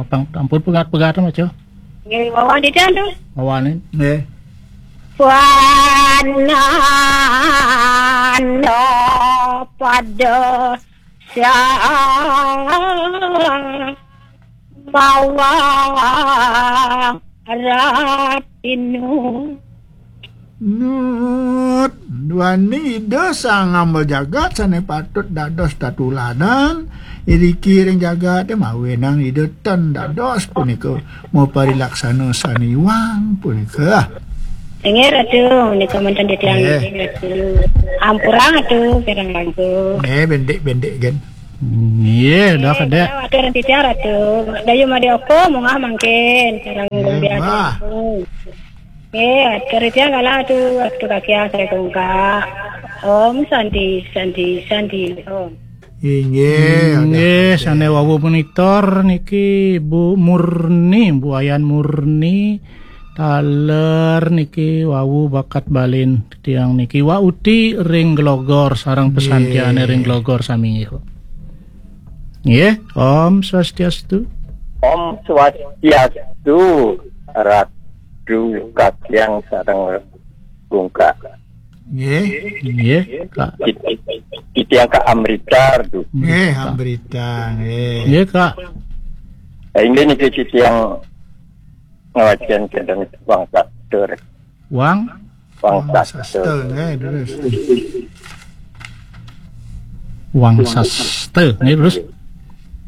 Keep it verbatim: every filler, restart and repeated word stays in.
Pang, ampun pegat-pegat, Mas, yo. Nggih, wawan didian tu. Wawanin. Nggih. Wananda pada sang mawa ratinu. Nut, duaning Ida Sang Ngambel Jagat sane patut dados tatuladan, iriki ring jagate mawinan Ida ten dados punika maparilaksana sane iwang punika. Inggih, Ratu, menika manten titiang. Nggih. Inggih, Ratu. Ampurang, Ratu, kirang langkung. Nggih, bendik-bendik, gen. Nggih, dah. Nggih, kedek. Atur titiang, Ratu. Dayu Madioko, munggah mangkin, kirang. Nggih, biasa. Bah. Nggih, atur titiang kala, Ratu, Ratu Kakiang, saya kungka. Om Santi, Santi, Santi, Om. Inggih, nggih, sane wau monitor niki Bu Murni, Bu Ayan Murni, taler niki wau bakat balin tiang niki. Wa uti ring Glogor sareng pesantiane ring Glogor sami nggih. Nggih, Om Swastiastu. Om Swastiastu, Ratu Kakiang sareng Gungka. Nggih. Nggih, Kak. Titiang Kak Amrita, Ratu. Nggih, Amrita, nggih. Nggih, Kak. Inggih niki titiang ngawacen kenten Wang Satur. Wang? Wang Satur. Satur, nggih, terus. Wang Saster, nggih, terus.